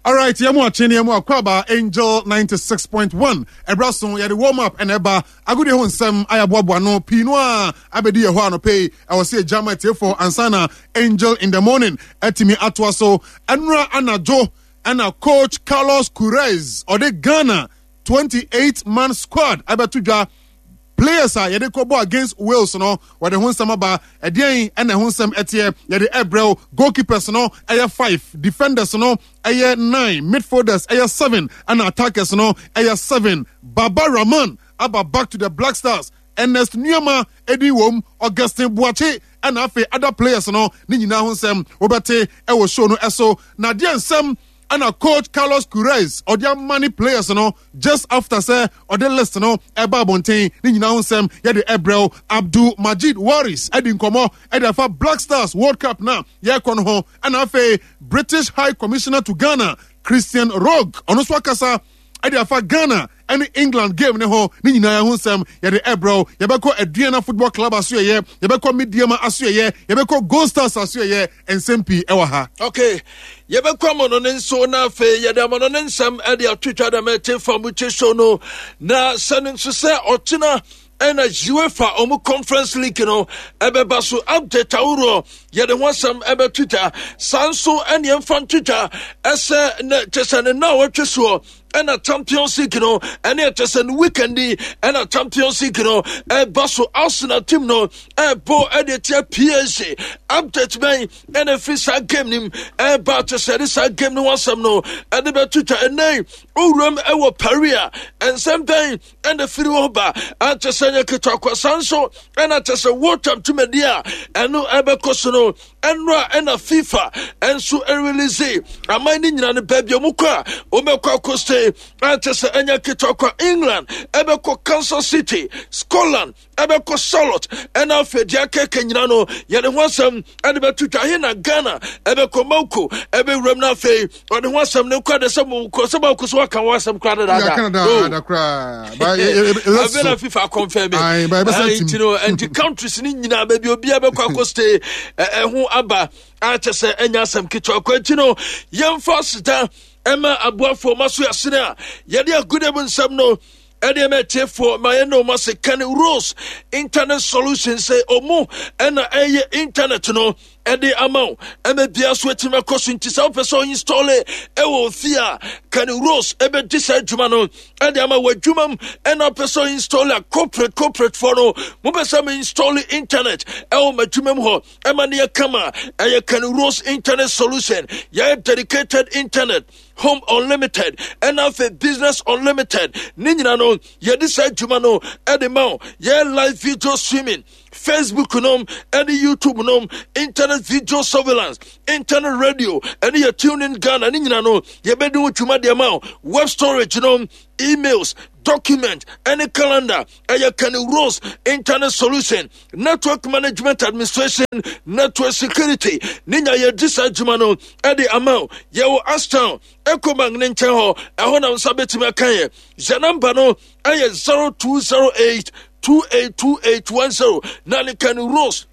Alright, yɛn mu akye ne yɛn mu akɔ Angel 96.1 ɛbra so yɛde warm up ɛna ɛba agodie ho nsɛm ayɛaboaboa no pii no a abɛdi yɛ hɔ anɔpɛ yi ɛwɔ sɛ yɛgya ma atiefoɔ ansa na Angel in the morning atumi atoa so ɛnora anadwo ɛna coach Carlos Queiroz ɔde Ghana 28 man squad abɛto dwa. Players a yɛde kɔbɔ against Wales no, wɔde ho nsɛm aba. Ɛdeɛn ɛna ɛho nsɛm ɛteɛ? Yɛde ɛbrɛw. Goalkeepers no ɛyɛ five, defenders no ɛyɛ nine, midfielders ɛyɛ seven, ɛna attackers no ɛyɛ seven. Baba Rahman aba back to the Black Stars. Ernest Nuamah edin wom, Augustine Boakye ɛna afei other players no ne nyinaa ho nsɛm wobɛte ɛwɔ show no ɛso. Na deɛ nsɛm ɛna coach Carlos Queiroz ɔde ama ne players no just after sɛ ɔde list no ɛba abɔnten ne nyinaa ho nsɛm yɛde ɛbrɛw. Abdul Majid Waris ɛdi nkɔmɔ ɛde afa Black Stars World Cup na yɛrekɔ no ho, ɛna afei British High Commissioner to Ghana Christian Rogue ɔno nso akasa ɛde afa Ghana ɛne England game ne ho ne nyinaa ho nsɛm yɛde ɛbrɛw. Yɛbɛkɔ Aduana Football Club asoɛyɛ, yɛbɛkɔ Medeama asoɛyɛ, yɛbɛkɔ Gold Stars asoɛyɛ, nsɛm pii ɛwɔ ha. Okay, yɛbɛkɔ amono ne nso na afei yɛde amono ne nsɛm ɛde atwitwa dɛm ɛte fa mu kye show no na sɛ no nso sɛ ɔkyena ɛna UEFA ɔmo conference league no ɛbɛba so. Update ahoroɔ yɛde ho asɛm ɛbɛtwitwa saa nso ɛne ɛmfa ntwitwa ɛsɛ ne kyɛ sɛ ne na wɔtwe soɔ ɛna Champions League no ɛne ɛkyɛ sɛ no weekend yi ɛna Champions League no ɛba so. Arsenal team no ɛbɔ ɛde tia PSG. Update bɛn ɛna ɛfiri saa game nim ɛba kyɛ sɛ ɛde saa game no ho asɛm no ɛde bɛtwitwa ɛnɛ owuram ɛwɔ Paris a ɛnsɛm bɛn ɛna firi hɔ ba akyɛ sɛ nyɛ ketewa kwa. Saa nso ɛna kyɛ sɛ World Cup dwumadi a ɛno ɛbɛkɔ so no ɛno a ɛna FIFA ɛnso ɛrelease aman no nyina no baabi a wɔkɔ a wɔbɛkɔ akɔstay akyɛ sɛ ɛnyɛ ketewa kwa. England ɛbɛkɔ Kansas City, Scotland ɛbɛkɔ Charlotte, ɛna afei deɛ akɛkɛ nyina no yɛde ho asɛm ɛde bɛto dwa. He na Ghana ɛbɛkɔ Mako ɛbɛwuram no afei ɔde ho asɛm no kɔ de sɛ mokɔ sɛ mako so waka ho asɛm koraa dadaada afei na FIFA confirm nti no nti countries no nyinaa baabi obiara bɛkɔ akɔ stay ɛho aba akyɛ sɛ ɛnya asɛm ketewa kɔ akyi no. Yɛmfa seda ɛma aboafoɔ ma so yɛasene a yɛde agude mu nsɛm no ɛdeɛ ma atiefoɔ ma yɛne ɔma se Kane Rose Internet Solution sɛ ɔmu ɛna ɛyɛ internet no ɛde ama wo ɛma bia so atumi akɔ so. Nti sɛ wopɛ sɛ ɔinstɔle ɛwɔ ofie a, Kane Rose ɛbɛdi saa adwuma no ɛde ama wɔ adwuma mu. Ɛna wopɛ sɛ ɔinstɔle a, corporate foɔ no mopɛ sɛ mo install internet ɛwɔ m'adwuma mu hɔ ɛma ne yɛ kama, ɛyɛ Kane Rose Internet Solution. Yɛyɛ dedicated internet, home unlimited, ɛna afei business unlimited ne nyina no yɛde saa adwuma no ɛde ma wo. Yɛ live video streaming, Facebook nom ɛne YouTube nom, internet video surveillance, internet radio ɛne yɛ tune in Ghana ne nyina no yɛbɛdi ho dwuma deɛ ma wo. Web storage nom, emails, document ɛne calendar, ɛyɛ Kenny Rose Internet Solution. Network management administration, network security ne nya yɛdi saa adwuma no ɛde ama wo. Yɛwɔ Ashtown, Ecobank ne nkyɛn hɔ, ɛhɔ na nsa bɛtumi aka yɛ. Yɛ namba no ɛyɛ 0208 282810 na ne Kenny Rose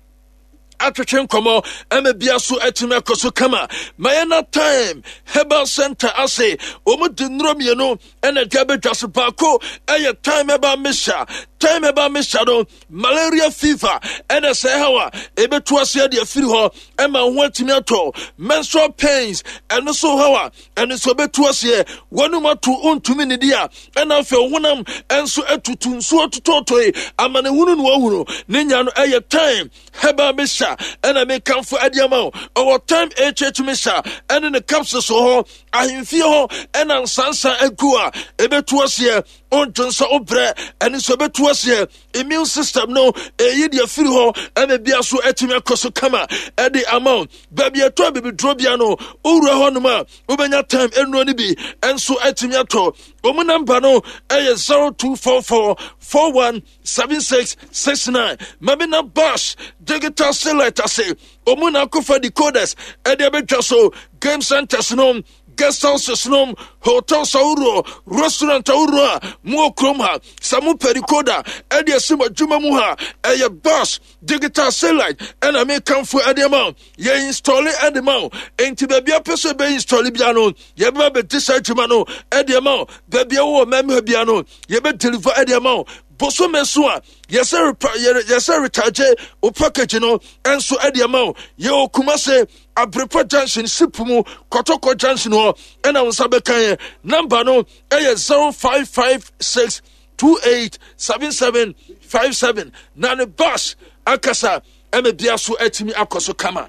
atwetwe nkɔmmɔ ɛma bia so atumi akɔ so kama. Ma yɛna Time Herbal Center ase, wɔn de nnuro mmienu ɛna ɛde abɛdwa so. Baako ɛyɛ Time Herbal Mixture. Time Herbal Mixture no, malaria, fever ɛna sɛ ɛhaw a ɛbɛtu ase de afiri hɔ ɛma ho atumi atɔ. Menstrual pains ɛno so haw a ɛno nso ɛbɛtu aseɛ. Wɔnum ato ntumi nidi a ɛna afei honam ɛnso atutu nsuo totɔtɔe amanehunu no wahunu ne nya no, ɛyɛ Time Herbal Mixture ɛna mekamfo ade ama wo. Ɔwɔ Time HH Mixture ɛne ne capsules wɔ hɔ ahemfie hɔ ɛna nsansa agu a ɛbɛtu aseɛ. Ɔntwe nsa wobrɛ ɛne nso ɛbɛtu aseɛ. Immune system no ɛyi deɛ firi hɔ ɛna bia so atumi akɔ so kama ɛde ama wo. Baabi ɛtɔ abibiduro bia no, wowura hɔ nom a wobɛnya Time nnuro no bi ɛnso atumi atɔ. Wɔn namba no ɛyɛ 0244 41 7669. Mami na Bash Digital Select ase, wɔn na akɔfa decoders ɛde abɛtwa so game centers no. Guest houses nom, hotels ahoroɔ, restaurant ahoroɔ a mowɔ kurom ha, sɛ mopɛ decoder ɛde asi mo adwuma mu ha, ɛyɛ bus digital satellite ɛna mekamfo ɛde ama wo. Yɛ install ɛde ma wo. Enti baabi apɛ sɛ ɛbɛ install bia no, yɛbɛba bɛdi saa adwuma no ɛde ama wo. Baabi a wowɔ mmarima bia no, yɛbɛ deliver ɛde ama wo. Bosome so a yɛsɛ yɛsɛ recharge wo package no nso ɛde ama wo. Yɛwɔ Kumase Abrepa Junction ship mu Kɔtɔkɔ Junction hɔ ɛna wo nsa bɛka yɛn. Number no ɛyɛ 0556 287757 na ne bus akasa ɛma bia so atumi akɔ so kama.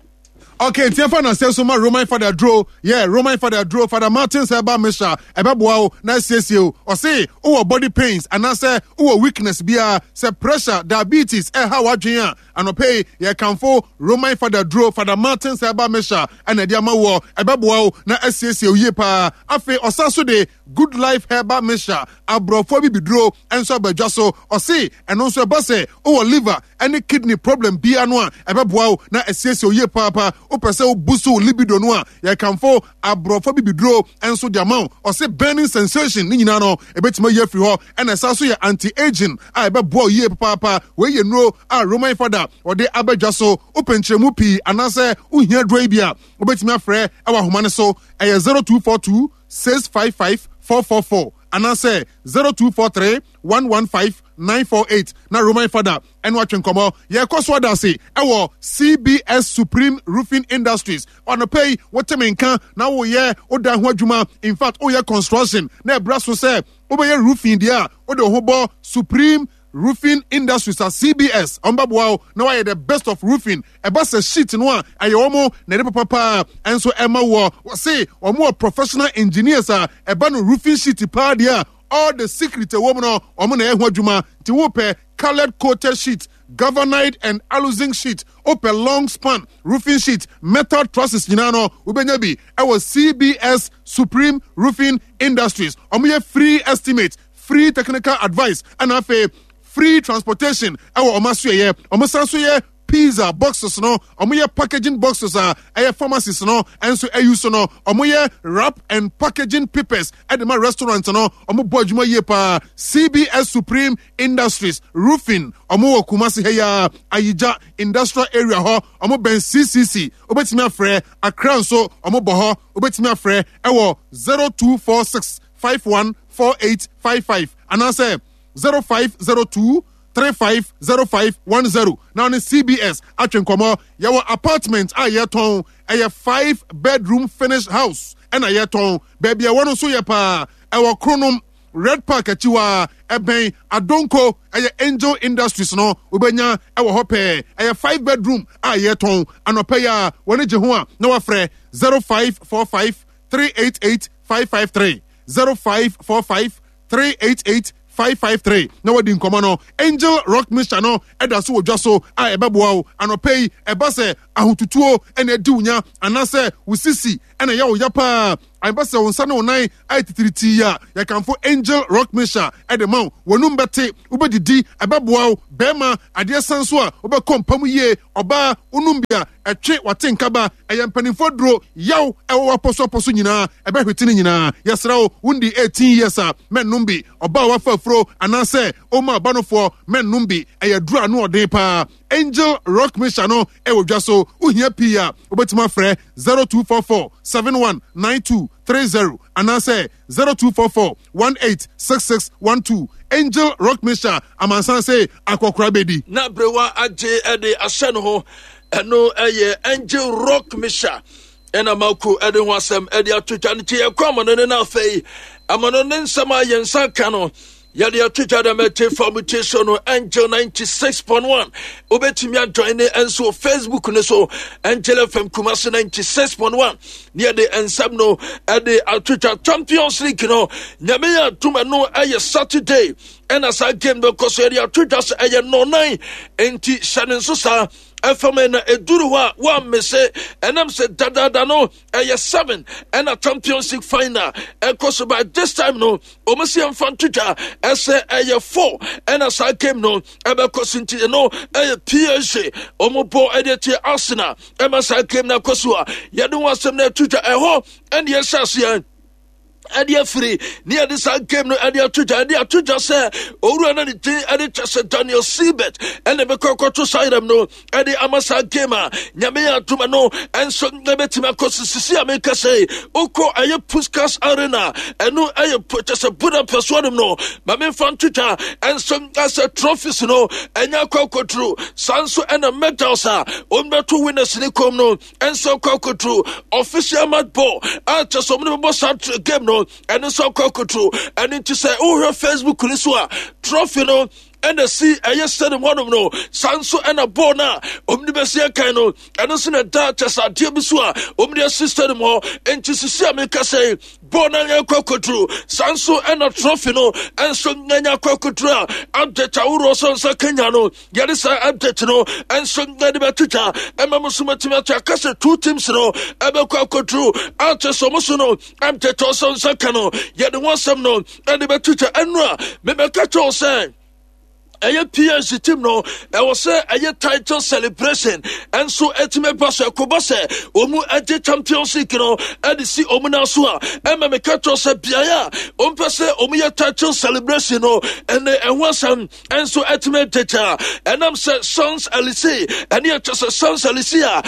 Okay, nti ɛfa na sɛ so ma Roman Father duro yeah Roman Father duro Father Martin sɛ ɛba Misha ɛbɛboa wo na asiesie wo. Ɔse wowɔ body pains anaasɛ wowɔ weakness biara, sɛ pressure, diabetes ɛha w'adwene a, anɔpɛ yi yɛkamfo Roman Father duro Father Martin sɛ ɛba Misha ɛna ɛde ama woɔ, ɛbɛboa wo na asiesie wo yie paa. Afei ɔsa so de Good Life Herbal Mixture, aborɔfo abibiduro nso aba dwa so. Ɔse ɛno nso ɛba sɛ wowɔ liver ne kidney problem biara no a, ɛbɛboa wo na asiesie wo yie paapa. Wopɛ sɛ wo boost wo libido no a, yɛkamfo aborɔfo abibiduro nso de ama wo. Ɔse burning sensation ne nyinaa no, ɛbɛtumi ayi afiri hɔ. Ɛna ɛsan so yɛ anti-aging a ɛbɛboa wo yie papaapa. Wei yɛ nnuro a Roman Fada ɔde aba dwa so. Wopɛ nkyerɛmu pii anaasɛ wohia aduro yi bi a, wobɛtumi afrɛ wɔ ahoma no so. Ɛyɛ 0242 655 444 anaasɛ 0243 115 948 na Roman Fada ɛno atwe nkɔmmɔ. Yɛkɔ so ada ase ɛwɔ CBS Supreme Roofing Industries. Anɔpa yi wote me nka na woyɛ woda ho adwuma, in fact woyɛ construction na ɛbra so sɛ wobɛyɛ roofing deɛ a, wode wo ho bɔ Supreme Roofing Industries a CBS wɔn bɛboa wo na wayɛ the best of roofing. Ɛba sɛ sheet no a ɛyɛ wɔn na ɛde papa paa nso ɛma woɔ. Wɔse wɔn wɔ professional engineers a ɛba no roofing sheet paa deɛ a all the secret ɛwɔ mu no wɔn na ɛyɛ ho adwuma. Nti wopɛ coloured coated sheet, galvanized and aluzinc sheet, wopɛ long span roofing sheet, metal trusses nyinaa no wobɛnya bi ɛwɔ CBS Supreme Roofing Industries. Wɔn yɛ free estimate, free technical advice ɛna afei free transportation ɛwɔ wɔn asoɛyɛ. Wɔn san so yɛ pizza boxes no, wɔn yɛ packaging boxes a ɛyɛ pharmacies no nso ɛyi so no, wɔn yɛ wrap and packaging papers ɛde ma restaurant no. Wɔn bɔ adwuma yie paa. CBS Supreme Industries Roofing, wɔn wɔ Kumasi ha yi ara, Ayigya Industrial Area hɔ, wɔn bɛn CCC. Wobɛtumi afrɛ Accra nso, wɔn bɔ hɔ. Wobɛtumi afrɛ ɛwɔ 0246 514855 anaasɛ 0502 350510 na ɔne CBS atwe nkɔmmɔ. Yɛwɔ apartment a yɛtɔn, ɛyɛ 5 bedroom finished house ɛna yɛtɔn. Baabi ɛwɔ no nso yɛ paa, ɛwɔ Kronom Red Park akyi hɔ a, ɛbɛn Adonko, ɛyɛ Angel Industries no wobɛnya ɛwɔ hɔ pɛɛ. Ɛyɛ 5 bedroom a yɛtɔn. Anɔpa yi a wɔne gye ho a na wafrɛ 0545 388 553 0545 388 553 na wadi nkɔmmɔ no. Angel Rock Mixture no ɛda so wɔ dwa so a ɛbɛboa wo anɔpa yi. Ɛba sɛ ahotutuo ɛna adi wo nya anaasɛ wo sisi ɛna ɛyɛ wo ya paa, ɛba sɛ wo nsa ne wo nan ayɛ titiritii a, yɛkamfo Angel Rock Mixture ɛde ma wo. W'anum bɛte, wobɛdidi, ɛbɛboa wo. Bɛrima, adeɛ san so a wobɛkɔ mpa mu yie. Ɔbaa, wonom bi a ɛtwe wate nkaba. Ɛyɛ mpanimfoɔ aduro, yaw ɛwɔ w'apɔso apɔso nyinaa, ɛbɛhwete ne nyinaa. Yɛsrɛ wo, wondi 18 years a, mɛnnom bi. Ɔbaa a wafa afuro anaasɛ ɔma abanofoɔ, mɛnnom bi. Ɛyɛ aduro a ano ɔden paa. Angel Rock Mixture no ɛwɔ dwa so. Wohia pii a, wobɛtumi afrɛ 0244 719230 anaasɛ 0244 186612. Angel Rock Mixture, amansan se akɔkora bɛdi. Na berewa agye ɛde ahyɛ ne ho. Ɛno ɛyɛ Angel Rock Mixture ɛna Marco ɛde ho asɛm ɛde ato dwa no. Nti yɛkɔ amano no, na afei amano ne nsɛm a yɛn nsa ka no yɛde ato dwa dɛm. Ɛte fa mu tie so no Angel 96.1. Wobɛtumi ajoin ne nso wɔ Facebook no so, Angel FM Kumasi 96.1, ne yɛde nsɛm no ɛde ato dwa. Champions League no, Nyame yɛ atom, ɛno ɛyɛ Saturday ɛna saa game bɛkɔ so. Yɛde ato dwa sɛ ɛyɛ nnɔnan, nti hyɛ ne nso saa. Ɛfam na ɛduru hɔ a woammese ɛnam sɛ dadaada no ɛyɛ 7 ɛna Champions League final ɛkɔ so. By this time no, wɔn si ɛmfa nto dwa ɛsɛ ɛyɛ 4 ɛna saa game no ɛbɛkɔ so. Nti ɛno ɛyɛ PSG wɔn bɔ ɛde tie Arsenal ɛma saa game no akɔ so a yɛde ho asɛm no ɛto dwa. Ɛhɔ ɛne yɛhyɛ aseɛ ɛde afiri ne yɛde saa game no ɛde ato dwa, ɛde ato dwa sɛ owura no ne din ɛde kyɛ sɛ Daniel Siebert ɛna ɛbɛkɔ akɔto saa yerɛm no ɛde ama saa game a Nyame yɛ adoma no ɛnso ɛbɛtumi akɔ so. Sisi a meka sɛ wokɔ ɛyɛ Puskas Arena, ɛno ɛyɛ kyɛ sɛ Budapest hɔnom no, ma memfa nto dwa ɛnso ɛsɛ trophies no ɛnyɛ akɔ akɔduru saa nso, ɛna medals a wɔmbɛto winners ne kɔm no ɛnso akɔ akɔduru. Official match ball a kyɛ sɛ ɔmo ne bɛbɔ saa game no, ɛno nso akɔ akɔduru. Ɛno nti sɛ wohwɛ Facebook ni so a, trophy no ɛna si ɛyɛ stadium hɔnom no, saa nso ɛna bɔɔl no a ɔmo de bɛsi ɛkan no, ɛno nso na ɛda kyɛ sɛ adeɛ bi so a ɔmo de asi stadium hɔ. Nti sisi a meka sɛ bɔɔl no anyɛ akɔ akɔduru, saa nso ɛna trophy no ɛnso nyɛ akɔ akɔduru a update ahoroɔ sɛ nsa kenya no, yɛde saa update no nso yɛde bɛto dwa ɛma mo so matumi ato aka sɛ two teams no ɛbɛkɔ akɔduru akyɛ sɛ ɔmo so no update ɔsɛ nsa ka no, yɛde ho asɛm no ɛde bɛto dwa. Ɛno a mebɛka kyɛw sɛ ɛyɛ PSG team no ɛwɔ sɛ ɛyɛ title celebration ɛnso ɛtumi ba so ɛkɔba sɛ wɔn agye Champions League no ɛde si wɔn nan so a, ɛma meka kyerɛ sɛ beaeɛ a wɔn pɛ sɛ wɔn yɛ title celebration no, ɛnɛ ɛho asɛm ɛnso ɛtumi agyagya ɛnam sɛ Champs Elysees, ɛne ɛkyɛ sɛ Champs Elysees a